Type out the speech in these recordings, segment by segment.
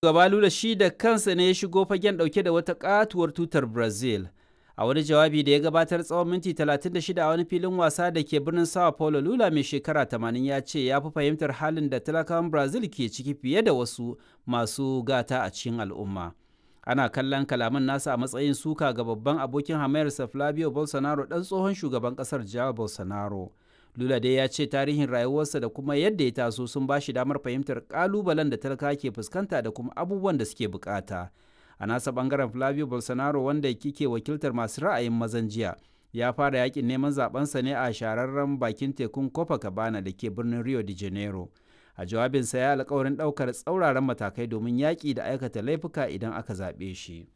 Shugaba Lula shi da kansa ne ya shigo fagen ɗauke da wata ƙatuwar tutar Brazil. A wani jawabi da ya gabatar tsawon minti 36 a wani filin wasa da ke birnin Sao Paulo, Lula mai shekara 80 ya ce ya fi fahimtar halin da talakawan Brazil ke ciki fiye da wasu masu gata a cikin al'umma. Ana kallon kalaman nasa a matsayin suka ga babban abokin hamayarsa Flavio Bolsonaro, ɗan tsohon shugaban ƙasar Jair Bolsonaro. Lula dai ya ce tarihin rayuwarsa da kuma yadda ya taso sun ba shi damar fahimtar ƙalubalen da talaka ke fuskanta da kuma abubuwan da suke bukata. A nasa bangaren, Flavio Bolsonaro, wanda kike wakiltar masu ra'ayin mazan jiya, ya fara yakin neman zabensa ne a shahararren bakin tekun Copacabana da ke birnin Rio de Janeiro. A jawabinsa ya alkawarin ɗaukar tsauraran matakai domin yaƙi da aikata laifuka idan aka zaɓe shi.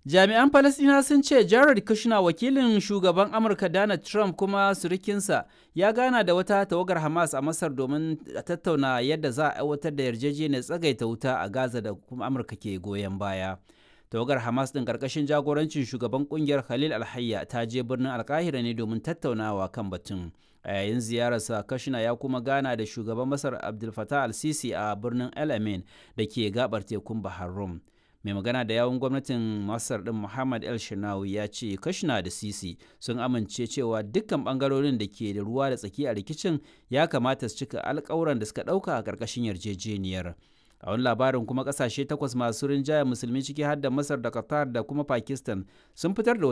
Jami'an Falasɗinawa sun ce Jared Kushner, wakilin shugaban Amurka Donald Trump kuma surukinsa, ya gana da wata tawagar Hamas a Masar domin tattauna yadda za a aiwatar da yarjejeniyar tsagaita wuta a Gaza da kuma Amurka ke goyon baya. Tawagar Hamas ɗin ƙarƙashin jagorancin shugaban ƙungiyar Khalil Alhayya ta je birnin Alkahira ne domin tattaunawa kan batun. A yayin ziyararsa, Kushner ya kuma gana da shugaban Masar Abdel Fattah al-Sisi a birnin El Amin da ke gabar tekun Bahar Rum. Mai magana da yawun gwamnatin Masar din, Muhammad El Shinawi, ya ce Kashina da Sisi sun amince cewa dukkan bangarorin da ke da ruwa da tsaki a rikicin ya kamata su cika alkawuran da suka dauka a karkashin yarjejeniyar. A wani labarin kuma, kasashe takwas masu rinjaye Musulmi, ciki har da Masar da Qatar da kuma Pakistan, sun fitar da wata